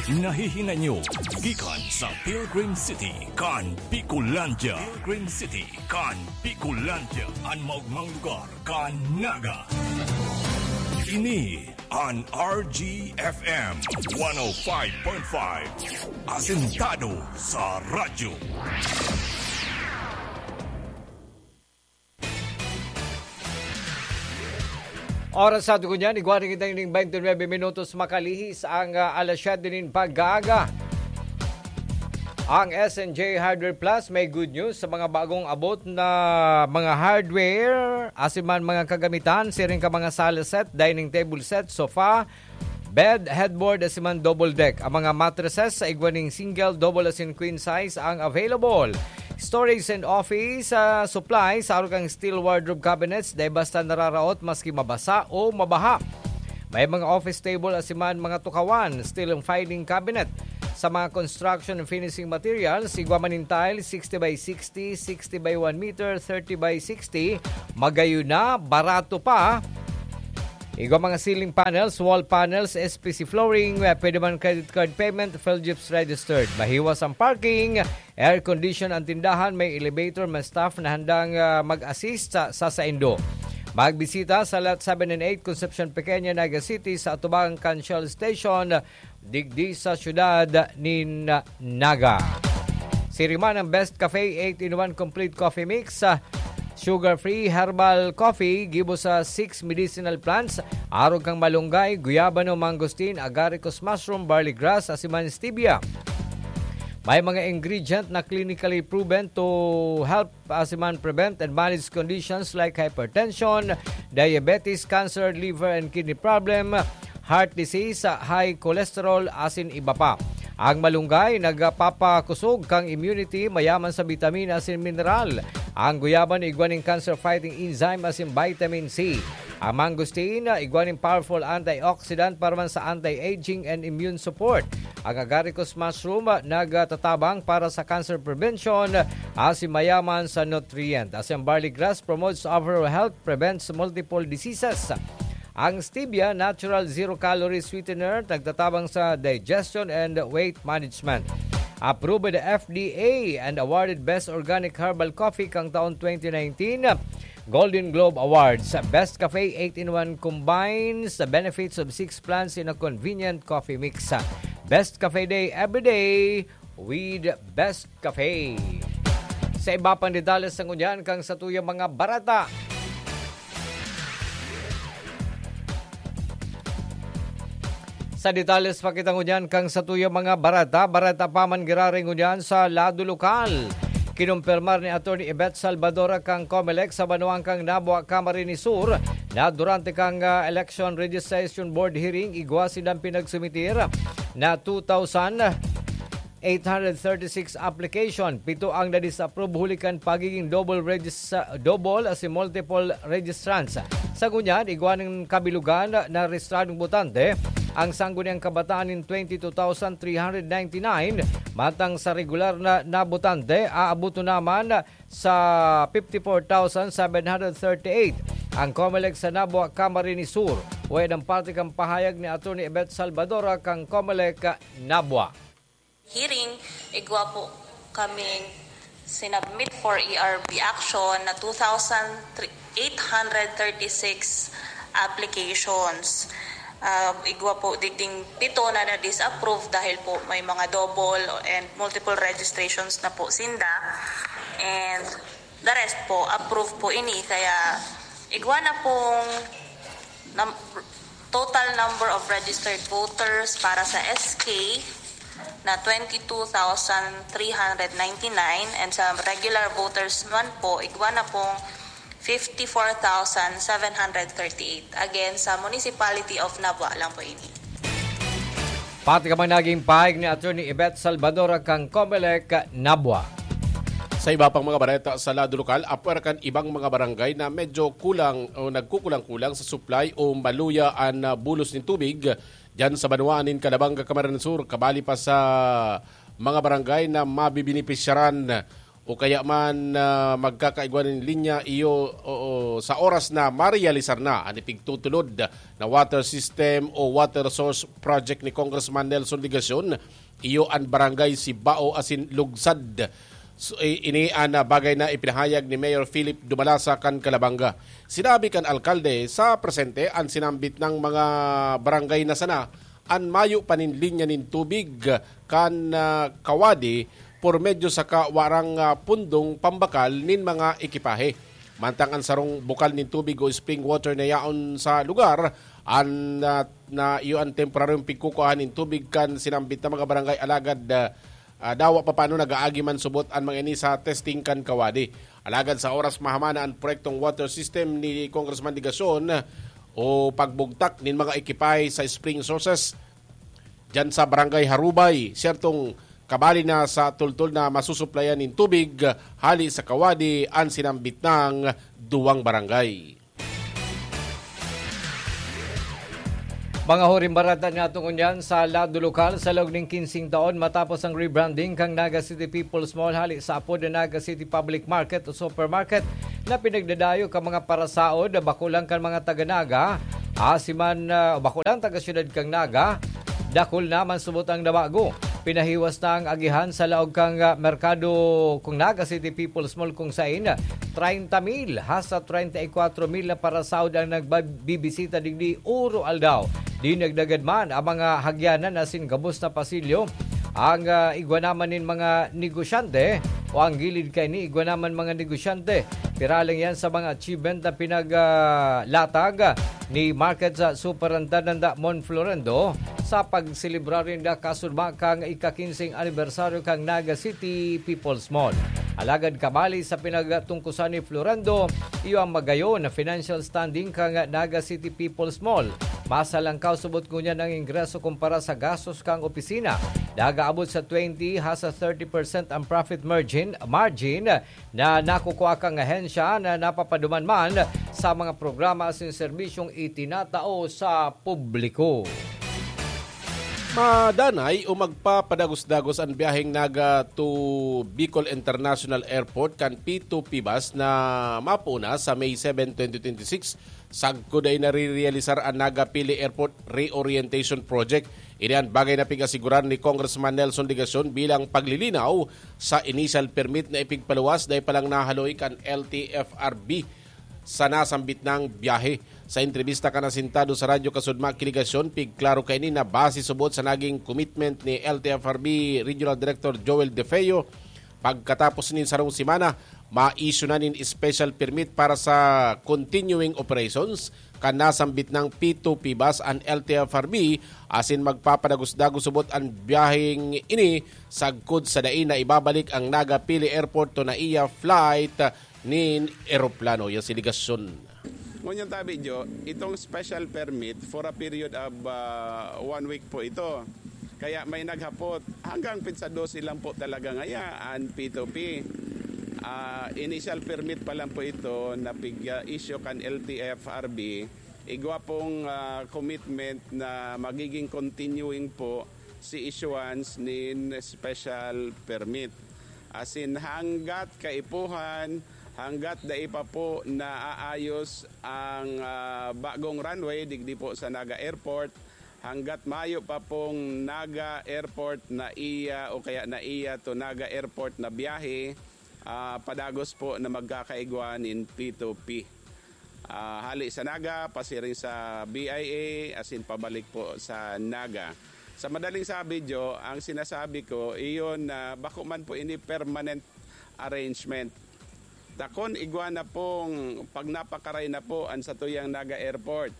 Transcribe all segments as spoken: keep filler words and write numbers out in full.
Nahihinanyo gikan sa Pilgrim City kan Bicolandia. Pilgrim City kan Bicolandia, an maogmang lugar kan Naga. Ini an R G F M one oh five point five, asentado sa radyo. Oras sa aton ngunyan, igwa na kita ning twenty-nine minutos makalihis ang, ah, alas siyete nin pag-aaga. Ang S N J Hardware Plus may good news sa mga bagong abot na mga hardware, asin man mga kagamitan, siring ka mga sala set, dining table set, sofa, bed, headboard, asin man double deck. Ang mga mattresses sa igwa ning single, double asin queen size ang available. Storage and office, ah, supplies, sa arog kang steel wardrobe cabinets, dai basta nararaot maski mabasa o mabaha. May mga office table, asin man mga tukawan, steel filing cabinet. Sa mga construction and finishing materials, igwa man nin tile, sixty by sixty, sixty by one meter, thirty by sixty, magayon na, barato pa. Igwa mga ceiling panels, wall panels, S P C flooring, eh, pwede man credit card payment, Philgips registered. Mahiwas ang parking, air condition ang tindahan, may elevator, may staff na handang, ah, mag-assist sa, sa saindo. Magbisita sa Lot seven and eight, Concepcion Pequeña, Naga City, sa atubang kan Shell Station, digdi sa siyudad nin Naga. Siring man ang Best Cafe eight-in-one Complete Coffee Mix, ah, sugar-free herbal coffee, gibo sa six medicinal plants, arog kang malunggay, guyabano, mangosteen, agaricus mushroom, barley grass, asin man stevia. May mga ingredient na clinically proven to help asin man prevent and manage conditions like hypertension, diabetes, cancer, liver and kidney problem, heart disease, high cholesterol, asin iba pa. Ang malunggay nagpapakusog kang immunity, mayaman sa bitamina asin mineral. Ang guyabano igwa nin cancer-fighting enzyme asin vitamin C. Ang mangosteen, igwa nin powerful antioxidant para man sa anti-aging and immune support. Ang agaricus mushroom, nagtatabang para sa cancer prevention, asin mayaman sa nutrient. Asin barley grass promotes overall health, prevents multiple diseases. Ang stevia, natural zero-calorie sweetener, nagtatabang sa digestion and weight management. Approved by the F D A and awarded Best Organic Herbal Coffee kang taon twenty nineteen, Golden Globe Awards. Best Cafe eight-in-one combines the benefits of six plants in a convenient coffee mix. Best Cafe Day every day with Best Cafe. Sa iba pang detalye sa ngunyan kang satuyang mga bareta. Sa detalye pa kita ngunyan kang satuyang mga bareta, bareta pa man giraray ngunyan sa lado lokal. Kinumpirmar ni Attorney Yvette Salvador kang Comelec sa banwaan kang Nabua, Camarines Sur, na durante kang, ah, Election Registration Board hearing, igwa sindang pinagsumiter na two thousand eight hundred thirty-six application, pito ang na-disapprove huli kan pagiging double regis-, double asin multiple registrants. Sa ngunyan, igwa nin kabilogan na rehistradong botante ang sangguniang kabataan nin twenty-two thousand three hundred ninety-nine, mantang sa regular na, na botante, aaboton na man sa fifty-four thousand seven hundred thirty-eight. Ang Comelec sa Nabua, Camarines Sur. Wayan ang parte kan pahayag ni Attorney Yvette Salvador kang Comelec Nabua. Hearing, igwa po kaming sinubmit for E R B action na two thousand eight hundred thirty-six applications. Ah, igwa po digding pito na na-disapprove dahil po may mga double and multiple registrations na po sinda. And the rest po, approve po ini. Kaya igwa na pong num-, total number of registered voters para sa S K na twenty-two thousand three hundred ninety-nine, and sa regular voters naman po, igwa na pong fifty-four thousand seven hundred thirty-eight. Again, sa Municipality of Nabua lang po ini. Pati ka man naging pahayag ni Attorney Yvette Salvador kang Comelec Nabua. Sa iba pang mga bareta sa lado lokal, apwera kan ibang mga barangay na medyo kulang o nagkukulang-kulang sa supply o maluya an, ah, bulos nin tubig diyan sa banwaan nin Calabanga, Camarines Sur, kabali pa sa mga barangay na mabibenepisyaran o kaya man, ah, magkakaigwa nin linya, iyo, oo, sa oras na marealisar na an ipigtutulod na water system o water source project ni Congressman Nelson Legacion, iyo an barangay Sibao asin Lugsad. So, i-, ini an, ah, bagay na ipinahayag ni Mayor Philip Dumalasa kan Calabanga. Sinabi kan alkalde, sa presente an sinambit ng mga barangay na sana an mayo pa nin linya nin tubig kan, ah, Kawadi por medyo saka warang, ah, pundong pambakal nin mga ekipahe. Mantang an sarong bukal nin tubig o spring water na yaon sa lugar, an, ah, na iyo an temporaryong pigkukuhaan nin tubig kan sinambit na mga barangay alagad, ah, ah, dawa pa paano nag-aagi man subot an mga ini sa testing kan Kawadi. Alagad sa oras mahamana an proyektong water system ni Congressman Legacion o pagbugtak nin mga ekipahe sa spring sources diyan sa Barangay Harubay, siyertong kabali na sa tultol na masusuplayan nin tubig hali sa Kawadi an sinambit ng duwang barangay. Mga huring barata nga tungon yan sa lado lokal, sa laog ning kinsing taon matapos ang rebranding kan Naga City People's Mall hali sa apod na Naga City Public Market o Supermarket na pinagdadayo kan mga parasaod, bako lang kan mga taga Naga, asin man, ah, bako lang taga siyudad kan Naga, dakul na man subot ang nabago. Pinahiwas na ang agihan sa laog kan, ah, merkado kan Naga City People's Mall, kung sain treinta mil hasta treinta y cuatro mil na parasaod ang nagbibisita digdi oro-aldaw. Dinagdagan man ang mga hagyanan asin gabos na pasilyo. Ang, ah, igwa naman nin mga negosyante o ang gilid kaini igwa naman mga negosyante. Pira lang yan sa mga achievement na pinag, ah, latag ni Market sa Superintendent Mon Florendo sa pagselebrar ninda kasunod kan ika-kinseng anibersaryo kan Naga City People's Mall. Alagad kabali sa pinagtungkosan ni Florendo, iyo ang magayon na financial standing kan Naga City People's Mall. Masalangkaw subot ngunyan ang ingreso kumpara sa gastos kan opisina. Nagaabot sa twenty hasta thirty percent ang profit margin, margin na nakukua kan ahensya na napapaduman man sa mga programa asin serbisyong itinatao sa publiko. Madanay o magpapadagos-dagos an biyaheng Naga to Bicol International Airport kan P two P bus na mapoon na sa May seven, twenty twenty-six, sagkod dai narerealisar an Naga Pili Airport Reorientation Project. Ini an bagay na pig-asiguran ni Congressman Nelson Legacion bilang paglilinaw sa initial permit na ipigpaluwas dai pa lang nahaloy kan L T F R B sa nasambit na biyahe. Sa entrebista kan asentado sa Radyo Kasudma ki Legacion, pigklaro kaini na base subot sa naging commitment ni L T F R B Regional Director Joel De Feo, pagkatapos nin sarong semana, ma-issue na nin special permit para sa continuing operations kan nasambit na P two P bus an L T F R B asin magpapadagos-dagos subot an biyaheng ini sagkod sa dai na ibabalik ang Naga Pili Airport to Naiya flight nin eroplano. Yan si Legacion. Ngunyan tabi, Jo, itong special permit for a period of, ah, one week po ito. Kaya may naghapot, hanggang petsa dose lang po talaga ngaya an P two P. Ah, initial permit pa lang po ito na pig-, ah, issue kan L T F R B. Igwa pong, ah, commitment na magiging continuing po si issuance nin special permit. Asin hanggat kaipuhan, hanggat dai pa po naaayos ang, ah, bagong runway digdi po sa Naga Airport, hanggat mayo pa pong Naga Airport Naiya o kaya Naiya to Naga Airport na biyahe, ah, padagos po na magkakaigwa nin P two P. Ah, hali sa Naga, pasiring sa B I A, asin pabalik po sa Naga. Sa madaling sabi, Jo, ang sinasabi ko, iyon na bako man po ini permanent arrangement. Dakon igwa na pong pag napakaray na po an satuyang Naga Airport.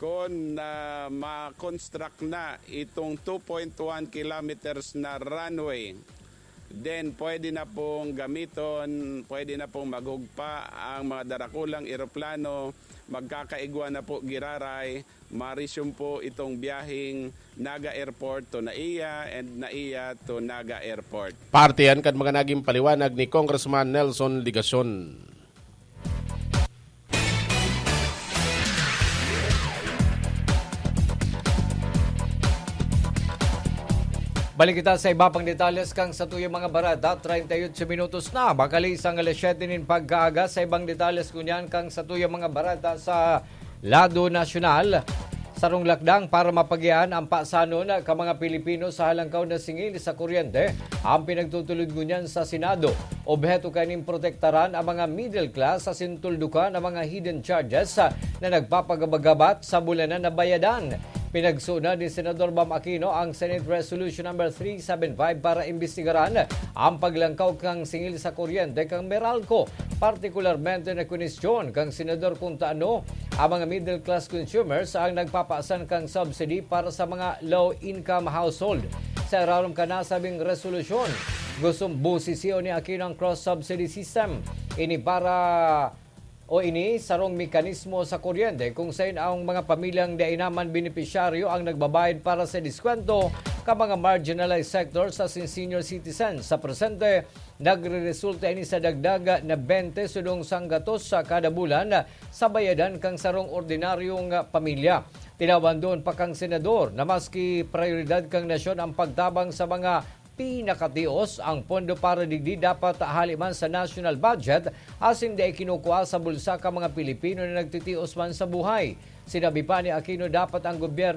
Kun, ah, ma-construct na itong two point one kilometers na runway, then pwede na pong gamiton, pwede na pong maghugpa ang mga darakulang eroplano, magkakaigwa na po giraray, ma-resume po itong biyaheng Naga Airport to Naiya and Naiya to Naga Airport. Parte yan kan mga naging paliwanag ni Congressman Nelson Legacion. Balik kita sa iba pang detalles kan satuyang mga bareta. Treinta y ocho minutos na, makaliis ang alas siyete nin pagkaaga. Sa ibang detalles ngunyan kan satuyang mga bareta sa lado nasyonal, sarong lakdang para mapagian ang pasanon kan mga Pilipino sa halangkaw na singil sa kuryente ang pinagtutulod ngunyan sa Senado. Obheto kaining protektaran ang mga middle class asin tuldukan ang mga hidden charges na nagpapagabagat sa bulanan na bayadan. Pinagsunod ni Senador Bam Aquino ang Senate Resolution Number three seven five para imbestigaran ang paglangkaw kan singil sa kuryente kan Meralco, partikularmente na kwenestyon kan Senador kung taano ang mga middle class consumers ang nagpapasan kan subsidy para sa mga low-income household. Sa irarom kan nasabing resolusyon, gustong busisiyon ni Aquino ang cross-subsidy system. Ini para o ini sarong mekanismo sa kuryente kung sain ang mga pamilyang dai naman benepisyaryo ang nagbabayad para sa diskwento kan mga marginalized sectors asin senior citizens. Sa presente, nagreresulta ini sa dagdag na bente sudong sanggatos sa kada bulan sa bayadan kan sarong ordinaryong pamilya. Tinawan duon pa kan senador na maski prayoridad kan nasyon ang pagtabang sa mga pinakatios, ang pondo para digdi dapat hali man sa national budget asin dai kinukua sa bulsa kan mga Pilipino na nagtitios man sa buhay. Sinabi pa ni Aquino, dapat ang gobyerno